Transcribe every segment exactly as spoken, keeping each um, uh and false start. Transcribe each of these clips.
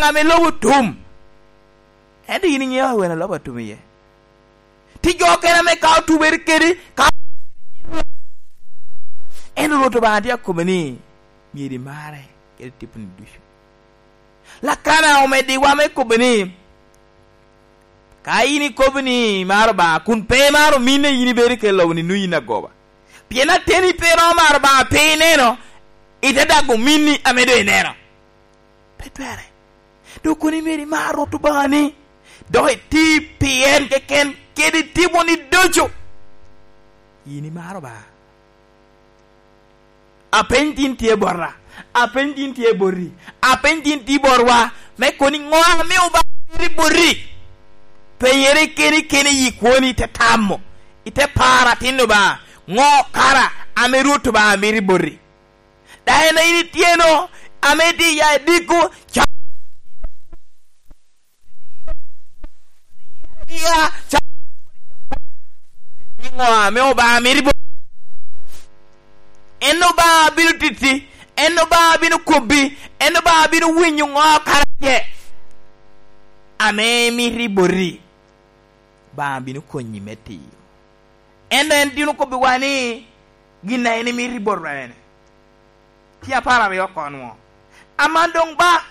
ŋa ame lobo otum. Ento yin iŋeo wene lobo atum iye. Ti jo okene ame ka otubere kedi, ka en Rwot Obaŋa tye akobo ni, myero imare kede tiponi ducu. Lakana omeddiwa me kobo ni, ka yin ikobo ni imaro Obaŋa, kun pe imaro minni, yin ibedo kede lobo ni nwoŋo yin agoba. Pien ateni pe iromo maro Obaŋa, pe ineno, ite dago minni ame doŋ ineno. Pe twerre. Dok kono myero imar Rwot Obaŋani, dok iti pi en keken kede tiponi ducu. Yin imaro Obaŋa. Apeny tin tye bota, apeny tin tye boti, apeny tin tye botwa, me kono ni ŋo ame Obaŋa mito i boti? Penyere keni keni i kwoni, ite tamo, ite paro atin Obaŋa, ŋo kara ame Rwot Obaŋa mito i boti? Daŋ en a yin ityeno, ame itye iya i diko, ca-, iya, ca-, niŋo ame Obaŋa mito i bo-, en Obaŋa bino titi, en Obaŋa bino kobbi, en Obaŋa bino winyo ŋo kara tye ame mito i boti. Obaŋa bino konyi me tiyo. Ento en tin okobbiwa ni, gin a en imito i botwa ene. Tye apar aryo oko nwo. Aman doŋ ba,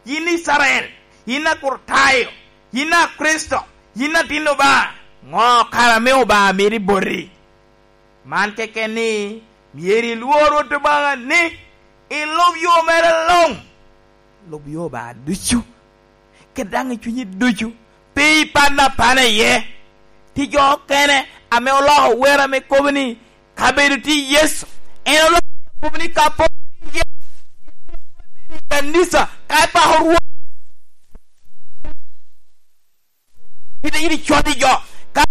yin Icrael, yin Akricitayo, yin Akricito, yin atin Obaŋa, ŋo kara ame Obaŋa mito i boti? Man keken ni, myero ilwor Rwot Obaŋa ni, ilub yo mere luŋ. Lub yo Obaŋa ducu, kede daŋ i cunyi ducu, pe ipan apana iye. Tye jo okene ame oloko wer ame kobo ni, kabedo tye Yecu, en oloko kobo ni ka po tye Yecu, i kanica, ka ipako Rwot, ite iri cwat i jo, ka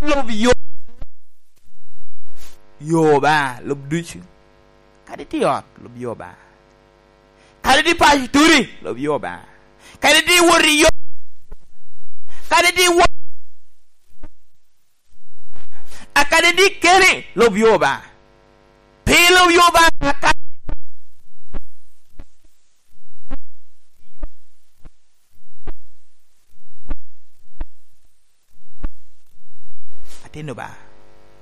lub yo, yo Obaŋa, lub ducu. Kadi tye i ot, lub yo Obaŋa. Kadi tye i paco turi, lub yo Obaŋa. Kadi tye i wot i yo, kadi tye i wot, a kadi tye keni, lub yo Obaŋa. Pi lub yo Obaŋa, ka atin Obaŋa,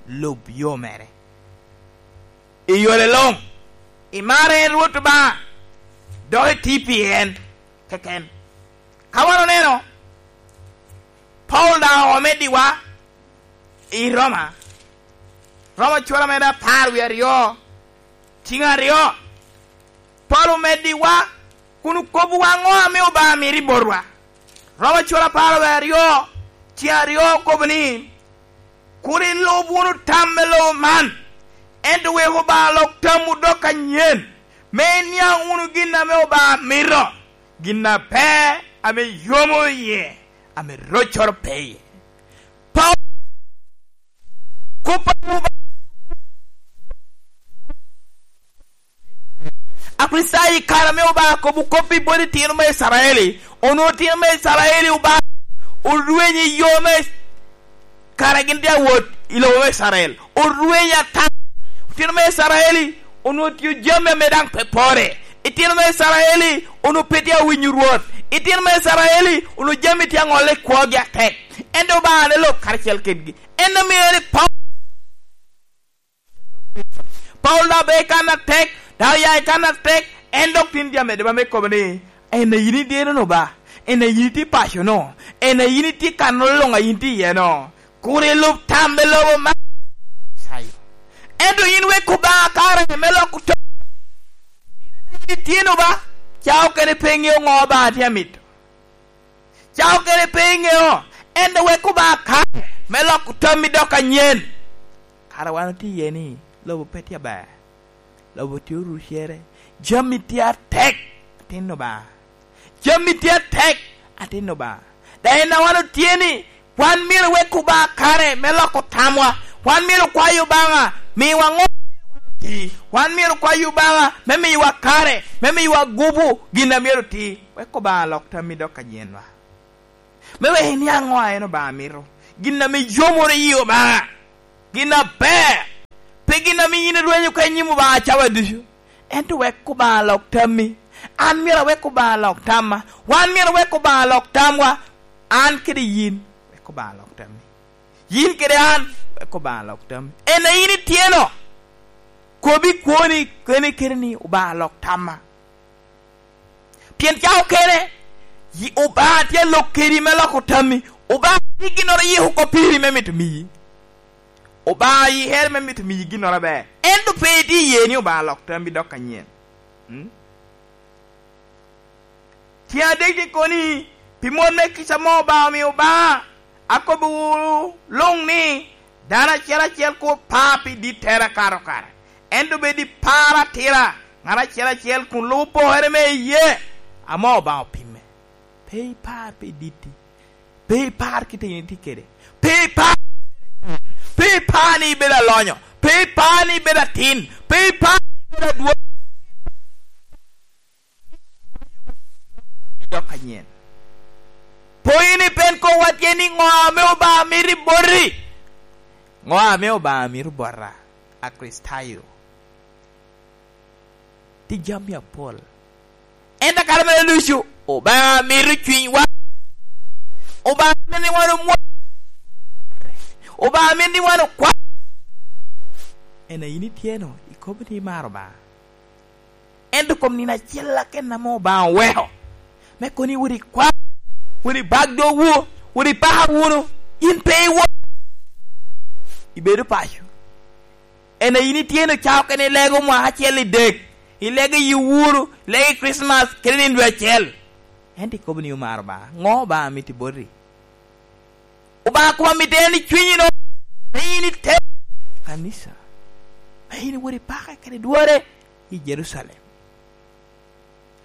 lub yo mere. I yore luŋ, imar en Rwot Obaŋa, dok iti pi en keken. Ka wan oneno, Paulo daŋ omeddiwa i Roma, Roma cura mere apar wie aryo, ciŋ aryo, Paulo omeddiwa kun okobbiwa ŋo ame Obaŋa mito i botwa. Roma cura apar wie aryo, ciŋ aryo okobo ni, kur ilub wunu tam me lobo man, ento wek Obaŋa lok tamwu dok anyen, me iniaŋ wunu gin ame Obaŋa mito, gin aber ame yomo iye, ame roccoro pe iye. Paulo, kop a Obaŋa, Akricitayo i kare ame Obaŋa kobo kop i bot itino me Icrael, onwoŋo itino me Icrael Obaŋa orwenyo i yo me kare gin tye awot i lobo me Icrael, orwenyo ata. Itino me Icrael onwoŋo tio jami ame daŋ pe pore. Itino me Icrael onwoŋo pe tye awinyo Rwot. Itino me Icrael onwoŋo jami tye aŋolle i kwogi atek. Ento Obaŋa ne lok karacel kedgi. En omio ni Paulo, Paulo daŋ obedo i kan atek, daŋ oya i kan atek, en dok tin tye amedde ba me kobo ni, en a yin ideno-nu ba? En a yin itye i paco-nu? En a yin itye i kan-nu luŋ a yin tye iye-nu? Kur ilub tam me lobo man. Ento yin wek Obaŋa kare me loko to. Yin itye-nu ba? Ca okene pe iŋeo ŋo Obaŋa tye amito. Ca okene pe iŋeo, ento wek Obaŋa kare me loko tammi dok anyen. Kara wan otye iye ni, lobo pe tye aber. Lobo tye orucere. Jami tye atek, atin Obaŋa. Jami tye atek, atin Obaŋa. Daŋ en a wan otye ni, wan myero wek Obaŋa kare me loko tamwa. Wan myero kwayo Obaŋa, miwa ŋo? Wan myero kwayo Obaŋa me miyowa kare, me miyowa gupu gin a myero ti. Wek Obaŋa lok tammi dok anyenwa. Me wek iniaŋ ŋo a en Obaŋa mito. Gin ame yomoro yi Obaŋa. Gin aber. gin ame yin irwenyo ka i nyim Obaŋa cawa ducu. Ento wek Obaŋa lok tammi. An myero awek Obaŋa lok tamma. Wan myero wek Obaŋa lok tamwa. An kede yin, wek Obaŋa lok tammi. Yin kede an, wek Obaŋa lok tammi. En a yin ityeno, kobi kwoni kene kene ni, "Obaŋa lok tamma." Pien ca okene, yi-, Obaŋa tye alok kedi me loko tammi. Obaŋa tye ginnoro yiko oko piri me mito miyi. Obaŋa yihere me mito miyi ginnoro aber. Ento pe itye iye ni Obaŋa lok tammi dok anyen. Mm? Tyen adek tye kono ni, pi mon me kica ame Obaŋa omio ba, akobbiwu luŋ ni, dano acel acel kur par pi dittere akato kare, ento bed i par atira, ŋat acel acel kun lubo pokere me iyee ame Obaŋa opimme. Pe ipar pi ditti, pe ipar kit a yin itye kede, pe ipar, pe ipar ni ibedo alonyo, pe ipar ni ibedo atin, pe ipar ni ibedo adwoŋ. Dok anyen. Pwony ni pe en kobwa tye ni ŋo ame Obaŋa mito i boti? Ŋo ame Obaŋa mito bota, Akricitayo? Tye jami apol. Ento kare mere ducu, Obaŋa mito cunywa. Obaŋa mito ni wan omwony. Obaŋa mito ni wan okwa. En a yin ityeno, ikobo ni imaro Obaŋa. Ento kom nino acel keken ame Obaŋa oweko, me kono ni wot ikwa, wot ibak dogwu, wot ipaka wunu, yin pe iwo-, ibedo paco. En a yin ityeno ca okene ilego mwaka acel i dek, ilego i wuru, ilego i Kricmas, kede nino dwe acel. Ento ikobo ni omaro Obaŋa. Ŋo Obaŋa mito i boti? Obaŋa koma mito en i cwinyi no, me in ite kanica, me in iwot ipake kede dwore i Jerucalem.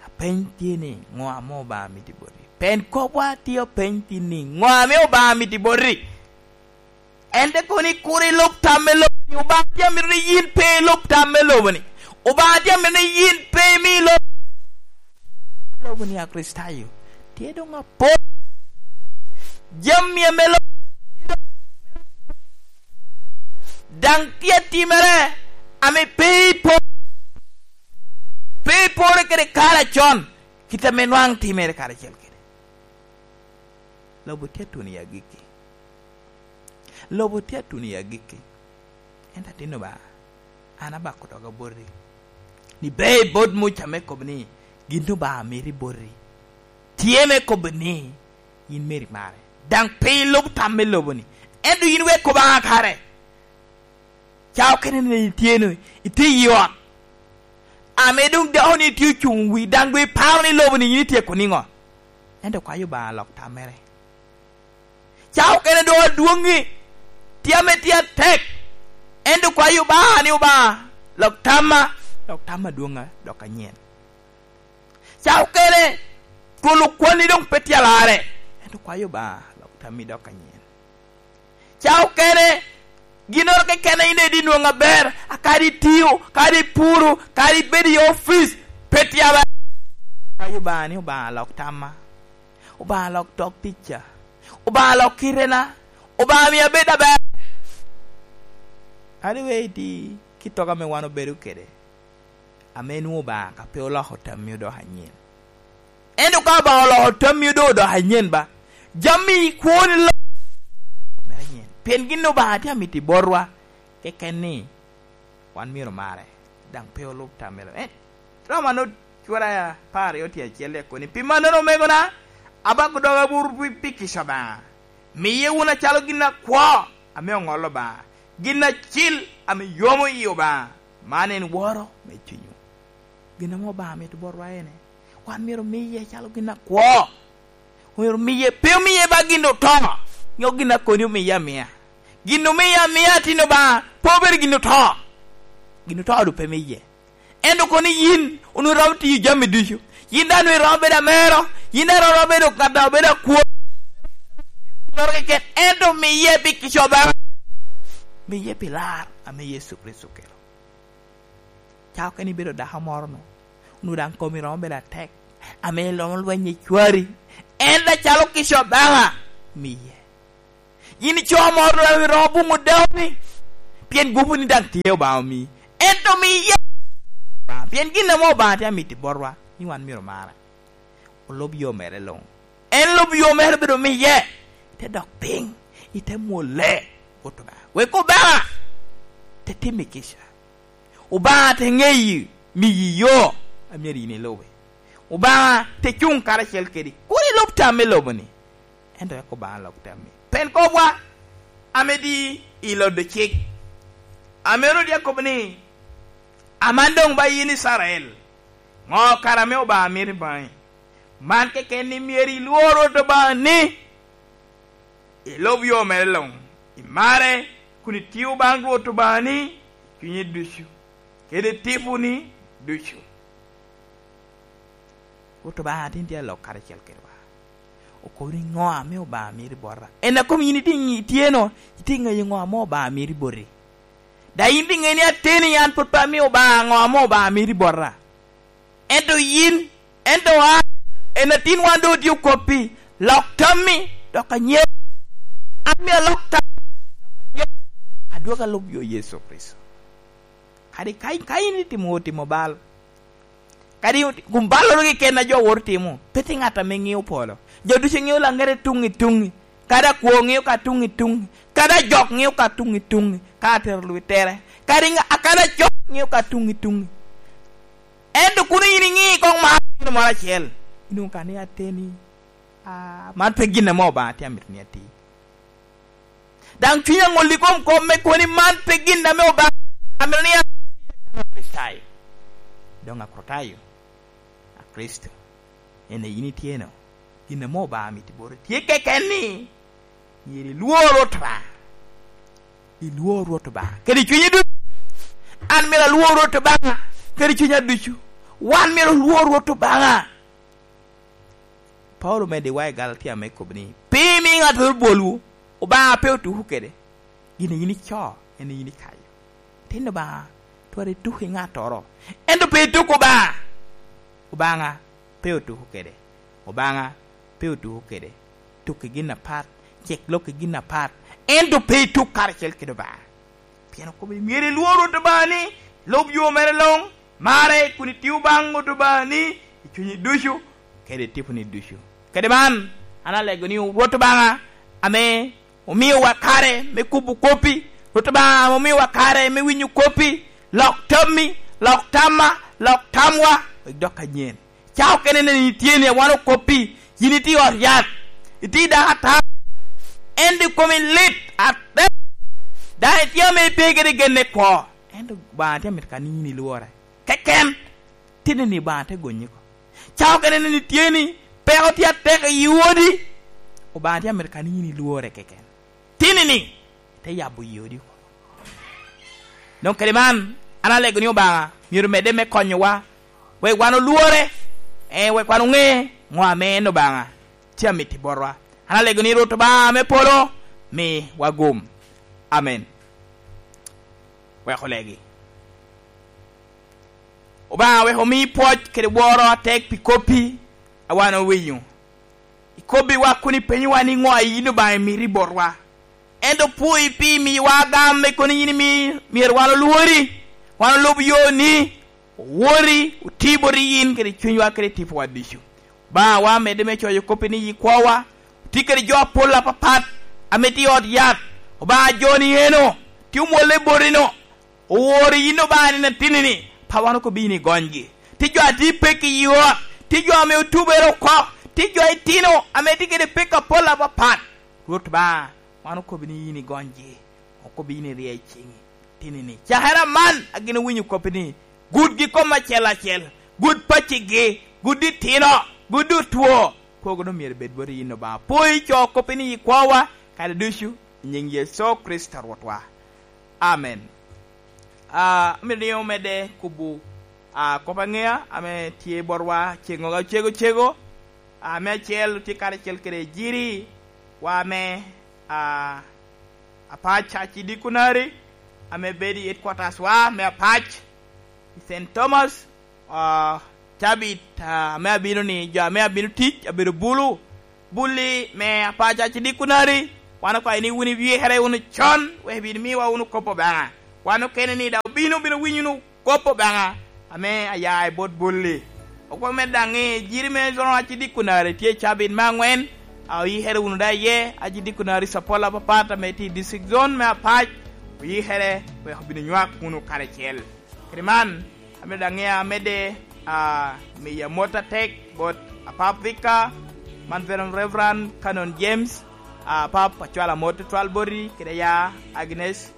Apeny tye ni, ŋo ame Obaŋa mito i boti? Pe en kobwa tye apeny tin ni, ŋo ame Obaŋa mito i boti? En te kono ni, kur ilub tam me lobo-ni. Obaŋa tye amito ni yin pe ilub tam me lobo-ni. Obaŋa tye amito ni yin pe imi lobo lobo ni Akricitayo tye doŋ apol. Jami ame lo-, daŋ tye atimere ame pe ipo-, pe ipore kede kare acon, kit ame nwaŋ timere karacel kede. Lobo tye atuno i agikki. Lobo tye atuno i agikki. Ento atin Obaŋa, an abako doga boti, ni be i bot Muca me kobo ni, gin Obaŋa mito i boti tye me kobo ni, yin myero imare. Daŋ pe ilub tam me lobo-ni, ento yin wek Obaŋa kare. Ca okene ni itye no, itye i ot, ame doŋ dako-ni tye ocuŋ wi, daŋ doŋ iparo ni lobo-ni yin ityeko niŋo? Ento kwayo Obaŋa lok tammere. Ca okene doŋ adwoŋŋi, tye ame tye atek, ento kwayo Obaŋa ni, "Obaŋa, lok tamma, lok tamma adwoŋ dok anyen." Ca okene twolo kwanni doŋ pe tye alarre, ento kwayo Obaŋa lok tammi dok anyen. Ca okene ginnoro keken a in daŋ itye nwoŋo aber, a kadi itio, kadi ipuro, kadi ibedo i opic, pe tye aber. Kwayo Obaŋa ni, "Obaŋa lok tamma, Obaŋa lok tok ticca, Obaŋa lok kitena, Obaŋa mi abed aber." Adi we iti kit tok ame wan obedo kede, ame nwoŋo Obaŋa ka pe oloko tammi odoko anyen. Ento ka Obaŋa oloko tammi odoko anyen ba, jami kwoni lo-, mere anyen. Pien gin Obaŋa tye amito i botwa keken ni wan myero omare, daŋ pe olub tam me lo-, en, Roma no cura apar aryo tye acel, ya koni, "Pi mannono, omegona, abako doga buru pi, pi kica Obaŋa. Miye wunu acalo gin akwo ame oŋolo Obaŋa, gin acil ame yomo i Obaŋa, man en woro me cunywu." Gin ame Obaŋa mito botwa ene, wan myero omiye acalo gin akwo. Myero omiye, pe omiye ba gin oto, nyo gin akoni omiye amia. Gin omiye amia, tin Obaŋa, pe obedo gin oto. Gin oto doŋ pe miye. Ento kono yin onwoŋo iromo tiyo jami ducu. Yin daŋ onwoŋo iromo bedo amero. Yin daŋ iromo bedo ŋat a obedo akwor. Loro keken, ento miye pi kica Obaŋa. Miye pi lar ame Yecu Kricito okelo. Ca okene ibedo dako moro no, onwoŋo daŋ komi romo bedo atek, ame iromo lweny i cwari. Ento acalo kica Obaŋa miye. Yin ico moro daŋ iromo buŋo dauni, pien gupu ni daŋ tye Obaŋa omii. Ento miye, pien gin ame Obaŋa tye amito i botwa, ni wan myero omare. Olub yo mere luŋ. En lub yo mere obedo miye, te dok piny, ite mwole, wot Obaŋa. Wek Obaŋa te timmi kica. Obaŋa te ŋeyi, miyi yo a myero yin ilubi. Obaŋa te cuŋ karacel kedi. Kur ilub tam me lobo-ni, ento wek Obaŋa lok tammi. Pen kobwa ame di i lodo cik, ame Rwot akobo ni, "Aman doŋ ba yin Icrael, ŋo kara ame Obaŋa mito i baŋi? Man keken ni myero ilwor Rwot Obaŋa ni, ilub yo mere luŋ, imare, kun itio baŋ Rwot Obaŋani i cunyi ducu, kede tiponi ducu." Rwot Obaŋa tin tye alok karacel kedwa. Okobo ni, "Ŋo ame Obaŋa mito i bota?" En a kom yin itye ŋ-, itye no, itye ŋeyo ŋo ame Obaŋa mito i boti. Da yin itye ŋeyo ni ateni an pwod pe amio Obaŋa ŋo ame Obaŋa mito i bota. Ento yin, ento an, en atin wan doŋ otye okoppi, lok tammi, dok anyet. An myero alok tammi, dok anyet. Adwogo alub yo Yecu Kricito. Kadi ka, ka in itimo, otimo bal, kadi ot-, kun balloro keken a jo woto timo, pe tye ŋat ame ŋeo polo. Jo ducu ŋeo laŋete tuŋ i tuŋ, kadi akwo ŋeo ka tuŋ i tuŋ, kadi ajok ŋeo ka tuŋ i tuŋ, ka atero lwitere, kadi ŋa-, kadi acok ŋeo ka tuŋ i tuŋ. Ento kun yin iŋi koŋ mar gin moro acel, inwoŋo ka ni ateni, "Ah, man pe gin ame Obaŋa tye amito ni ati." Daŋ cwiny aŋolli kom kop me kono ni man pe gin ame Obaŋa amito ni ati, acalo Kricitayo. Doŋ Akricitayo, a Kricito, en a yin itye no, gin ame Obaŋa mito i boti tye keken ni, myero ilwor Rwot Obaŋa. Ilwor Rwot Obaŋa kede cunyi ducu. An myero alwor Rwot Obaŋa kede cunya ducu. Wan myero olwor Rwot Obaŋa. Paulo omedde wa i Galatia me kobo ni, "Pe imi ŋattoro bwolwu, Obaŋa pe otuko kede. Gin a yin ico, en a yin ikayo." Tin Obaŋa twero ituko i ŋattoro, ento pe ituko Obaŋa. Obaŋa pe otuko kede. Obaŋa pe otuko kede. Tukki gin apat, cek lokki gin apat, ento pe ituk karacel kede Obaŋa. Pien okobo ni, "Myero ilwor Rwot Obaŋani, lub yo mere luŋ, mare kun itio baŋ Rwot Obaŋani i cunyi ducu, kede tiponi ducu." Kede man, an alego ni Rwot Obaŋa ame omiowa kare me kubo koppi, Rwot Obaŋa ame omiowa kare me winyo koppi, lok tammi, lok tamma, lok tamwa, wek dok anyen. Ca okene neni itye ni wan okoppi, yin itye i ot yat, itye i dakatar, ento i komi lit atek. Daŋ itye ame ipe kede genne kwo, ento Obaŋa tye amito ka ni yin ilwore keken. Tinni ni Obaŋa te gonyi oko. Ca okene neni itye ni peko tye atek i odi, Obaŋa tye amito ka ni yin ilwore keken. Tinni ni te yabo yodi oko. Doŋ kede man, an alego ni Obaŋa myero medde me konyowa, wek wan olwore, eh, wek wan oŋe ŋo ame en Obaŋa tye amito i botwa. An alego ni Rwot Obaŋa me polo mi wagum. Amen. Wek olegi. Obaŋa wek omi pwoc kede woro atek pi koppi a wan owinyo. Ikobbiwa kun ipenyowa ni ŋo a yin Obaŋa imito i botwa. Ento pwoyi pi miyowa agam me kono yin imi myero wan olwori, wan olub yoni, owori, oti boti yin kede cunywa kede tipowa ducu. Obaŋawa medde me coyo koppi ni i kwowa, oti kede jo apol apapat ame tye i ot yat. Obaŋa jo ni eno, tye omwolle botino. Oworo yin Obaŋa nino atinni-ni, pa wan okobbi yin igonygi. Tye jo a tye i pek i ot, tye jo ame otubere oko, tye jo itino ame tye kede pek apol apapat. Rwot Obaŋa, wan okobbi ni yin igonygi, okobbi yin irie i ciŋi. Tinni-ni, cakere aman a gin owinyo koppi ni, gudgi kom acel acel, gud paccigi, gud itino, gud otwo, kwogo doŋ myero bed boti yin Obaŋa. Pwoo i co koppi ni i kwowa, kare ducu, i nyiŋ Yecu Kricito Rwotwa. Amen. Ah, amito ni omedde kubo, ah, kop aŋea ame tye botwa ceŋoga cego cego. Ah, me acel otye karacel kede ejiri wa me, ah, Apac Church Dikunari, ame bedo i headquarters wa me Apac i Saint Thomas. Ah, cabit, ah, ame abino ni, jo ame abino tic, abedo bulu. Bulli me Apac Church Dikunari, wan okwayo ni wun iwikere wunu con, wek ibin miwa wunu kop Obaŋa. Wan okene ni daŋ obino, obino winyo wunu kop Obaŋa ame aya i bot bolli. Okwa med daŋ ni jiri me zone aci dikunari tye i cabit me aŋwen, a oyikere wunu daŋ iye, aci dikunari capola apapat ame tye i district zone me Apac, oyikere wek obin onywak wunu karacel. Kede man, ame daŋ ŋea medde, a, miyo amot atek bot apap Thika, man Veteran Reverend Canon James, a, apap acwalo amot tutwal boti, kede ya Agnes,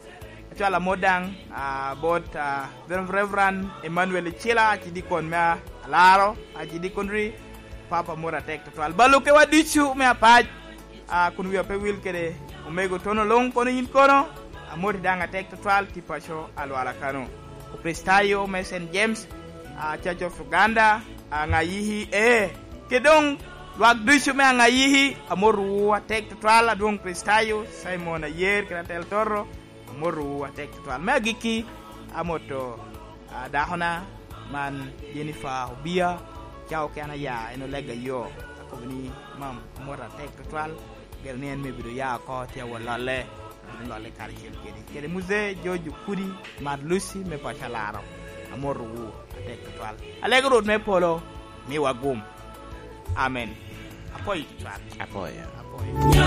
acwalo amot daŋ, a, bot, a, Veteran Reverend Emmanuel Icila, acidikon me Alaro, acidikon ri, apap amot atek tutwal. Balukkewa ducu me Apac, a, kun wia pe wil kede omego Tono Luŋ kono yin kono, amoti daŋ atek tutwal tye paco Alwala kano. Okricitayo me Saint James, a, Church of Uganda, Aŋayiki, ee, kede doŋ lwak ducu me Aŋayiki, amotowu atek tutwal, adwoŋ Kricitayo, Simon Ayer kede Atel Toto, amotowu atek tutwal. Me agikki, amoto, a, dakona man Jennifer Obia, ca oken aya, en olega yo, akobo ni, "Mam, amot atek tutwal, gero ni en me bedo ya oko, tye awot lolle, abino lolle karacel kedi." Kede Muzee George Okudi, Mat Lucy me paco Alaro, amotowu atek tutwal. Alego Rwot me polo, miwa gum. Amen. Apwoyo tutwal. Apwoyo. Apwoyo.